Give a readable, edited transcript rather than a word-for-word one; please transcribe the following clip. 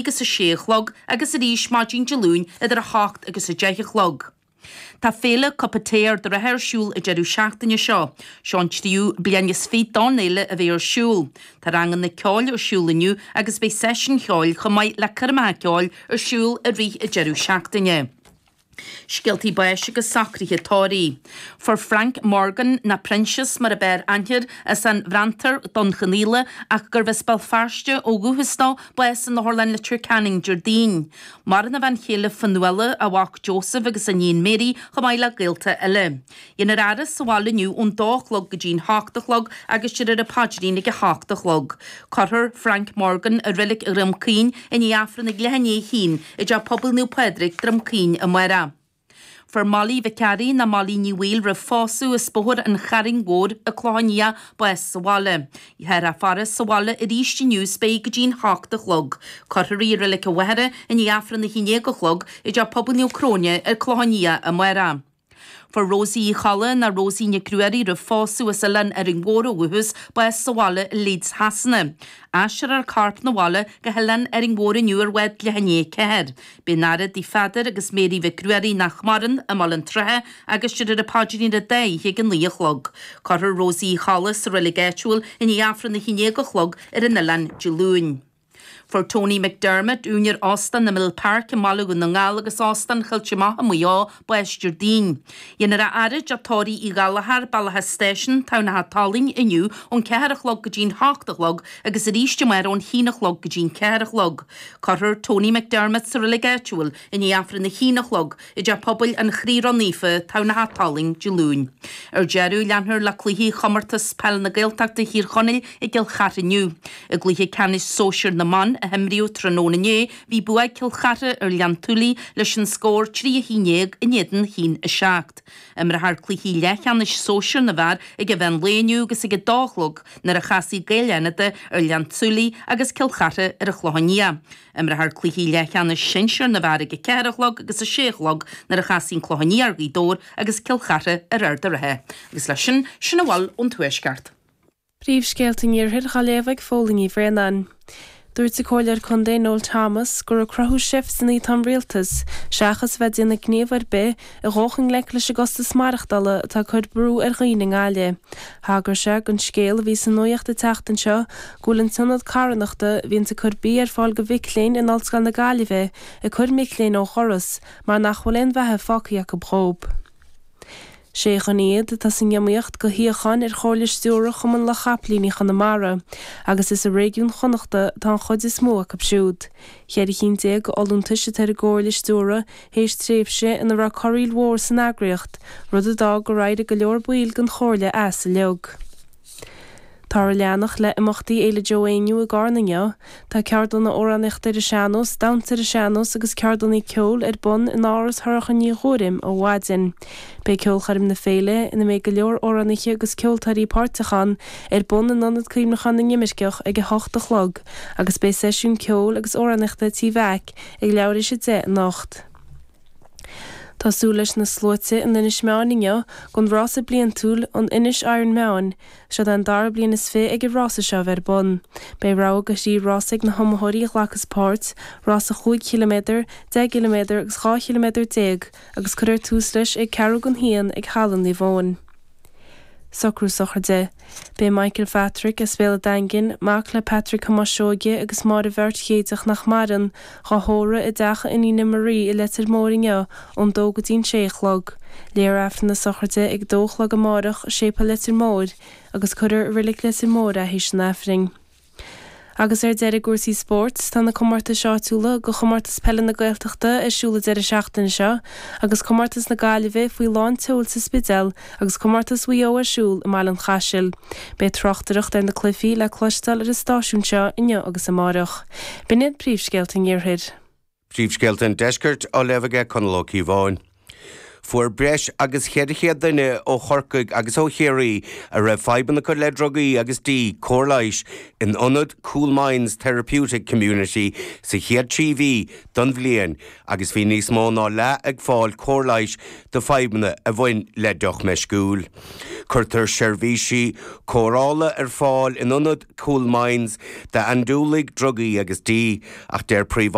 agus 6 a chlog agus arís maidin Dé Luain idir 8 agus 10 a chlog. Tá Féile Cupa Tae Ard a' Rátha ar siúl an deireadh seachtaine seo. Seo an tríú bliain is fiche don fhéile a bheith ar siúl. Tá ranganna ceoil ar siúl inniu agus beidh seisiúin cheoil chomh maith le coirmeacha ceoil ar siúl i rith an deireadh seachtaine. Scéaltaí báis agus socruithe tórraimh. Fuair Frank Morgan, nó Proinsias mar a b'fhearr aithne air, as an bhFranntar, Dún Chonaill, ach gurbh as Béal Feirste ó dhúchas dó, bás in Otharlann Leitir Ceanainn Déardaoin. Maireann a bhean chéile Fionnuala, a mhac Joseph agus a iníon Mary, chomh maith le gaolta eile. Dhéanfar a fhaire sa bhaile inniu ón dó a chlog go dtí'n hocht a chlog agus déarfar an paidrín ag a hocht a chlog. Cuirfear Frank Morgan i Reilig Dhroim Caoin i ndiaidh Aifreann ag leath i ndiaidh a haon i dTeach Pobail Naomh Pádraig, Droim Caoin amárach. Fuair Molly Mhic Fhearraigh nó Molly Ní Bhaoill roimh phósadh as Bóthar an Charraing Mhóir an Clochán Liath bás sa bhaile. Táthar á faire sa bhaile arís inniu is beidh go dtí'n hocht a chlog. Cuirfear í i Reilig an Mhachaire i ndiaidh Aifreann a haon déag a chlog i dTeach Pobail Naomh Cróine ar Clochán Liath amárach. Fuair Rosie Uí Cholla, nó Rosie Nic Ruairí roimh phósadh as Oileán Árainn Mhór ó dhúchas, bás sa bhaile i Leeds Shasana. Aistreofar a corp 'na bhaile go hOileán Árainn Mhór inniu ar bhád leath i ndiaidh 4. Beidh an fhaire i dtigh Pheadair agus Mary Mhic Ruairí nach maireann, i mBaile an tSratha agus déarfar an paidrín ar an dá oíche ag a 9 a chlog. Cuirfear Rosie Uí Cholla sa reilig áitiúil i ndiaidh Aifreann 11 a chlog ar an oileán Dé Luain. Fuair Tony McDermott, úinéir Óstán na Mill Park i mBaile Dhún na nGall agus Óstán Choillte Macha i Maigh Eo, bás Déardaoin. Dhéanfar a fhaire i dTeach Tórraimh Uí Ghallchóir, Bealach a' Stáisiúin, Tamhnach a' Tolainn, inniu ón 4 a chlog go dtí'n 8 a chlog agus arís amárach ón haon a chlog go dtí'n 4 a chlog. Cuirfear Tony McDermott sa reilig áitiúil i ndiaidh Aifreann a haon a chlog i dTeach Pobail an Chroí Ró-Naofa, Tamhnach a' Tolainn, Dé Luain. Ar deireadh, leanfar le cluichí Chomórtas Peile na Gaeltachta Thír Chonaill i gCill Chartha inniu. I gcluiche ceannais sóisir na mban a himríodh tráthnóna inné, bhí bua ag Cill Chartha ar Ghleann tSúilí leis an scór 3 11 in éadan 1 7. Imreofar cluichí leathcheannais sóisir na bhfear ag an mheán lae inniu agus ag a dó a chlog nuair a chasfaidh Gaeil Fhánada ar Ghleann tSúilí agus Cill Chartha ar an Chlochán Liath. Imreofar cluichí leathcheannais sinsir na bhfear ag a 4 a chlog agus a 6 a chlog nuair a chasfaidh an Clochán Liath ar Ghaoth Dobhair agus Cill Chartha ar Ard a' Rátha. Agus leis sin, sin a bhfuil ón Tuaisceart. Príomhscéalta an Iarthair á léamh ag Fódhla Ní Bhraonáin. Dúirt an Comhairleoir Contae Noel Thomas gur ag cruthú seifteanna atá an Rialtas seachas a bheith ag déanamh gníomh ar bith a dhul i ngleic leis an gcostas maireachtála atá ag cur brú ar dhaoine i nGaillimh. Thagair sé don scéal a bhí sa nuaíocht an tseachtain seo go bhfuil an t-ionad carthanachta a bhíonns ag cur bia ar fáil do mhic léinn in Ollscoil na Gaillimhe ag cur mic léinn ó dhoras mar nach bhfuil aon bheatha fágtha acu dhób. Sé dhuine iad atá san iomaíocht do shuíochán ar Chomhairle Stiúrtha Chumann Lucht Chapaillíní Chonamara agus is i réigiún Chonnachta atá an chuid is mó acu siúd. Cheithre chinn déag d'fholúntais atá ar an gComhairle Stiúrtha théis tréimhse ina raibh corraíl mhór san eagraíocht, rud a d'fhág gur éirigh go leor baill den Chomhairle as uilig. Táthar ag leanacht le imeachtaí Fhéile Joe Éinniú i gCarna inniu. Tá ceardlanna amhránaíochta ar an sean-nós, damhsa ar an sean-nós agus ceardlanna ceoil ar bun in Áras Shorcha Ní Ghuairim ó mhaidin. Beidh ceolchoirm na féile, ina mbeidh go leor amhránaithe agus ceoltóirí páirteach ann, ar bun in Ionad Cuimhneacháin na nImirceach ag 8 a chlog agus beidh seisiún ceoil agus amhránaíochta Tí Mheaic ag leathuair théis 10 anocht. Tá súil leis na sluaite in Inis Meáin inniu don rása bliantúil, an Inish Iron Meáin. Seod é an dara bliain is fiche ag an rása seo a bheith ar bun. Beidh rogha de thrí rása ag na hiomaitheoirí a ghlacas páirt, rása chúig chiliméadar, 10 gciliméadar agus 12 chiliméadar agus cuirfear tús leis ag ceathrú don haon ag Halla Naomh Eoin. Socrú sochraide. Beidh Michael Phatrick as Béal an Daingin, mac le Patrick Thomáis Seoige agus Máire Bheairt Chéideach nach maireann, dhá thórramh i dteach a iníne Marie i Leitir Móir inniu ón dó go dtí'n sé a chlog. Léifear Aifreann na sochraide ag a dó a chlog amárach i Séipéal Leitir Móir agus cuirfear i Reilig Leitir Móir é théis an Aifrinn. Agus ar deireadh i gcúrsaí spóirt, tá na comórtais áitiúla do Chomórtas Peile na Gaeltachta ar siúl an deireadh seachtaine seo agus Comórtas na Gaillimhe faoi lán tseoil sa Spidéal agus Comórtas Mhaigh Eo ar siúl i mBaile an Chaisil. Beidh tráchtaireacht ar na cluichí le cloisteáil ar an stáisiún seo inniu agus amárach. B'in iad príomhscéalta an Iarthair. Príomhscéalta an Deiscirt á léamh aige Conall Ó Cíobháin. Fuair breis agus 400 duine ó Chorcaigh agus ó Chiarraí a raibh fadhbanna acu le drugaí agus dí cóir leighis in ionad Cool Minds Therapeutic Community sa chéad 3 mhí den bhliain agus bhí níos mó ná leath ag fáil cóir leighis do fadhbanna a bhain le deoch meisciúil. Cuirtear seirbhísí cóireála ar fáil in ionad Cool Minds d'andúiligh drugaí agus dí ach deir príomh.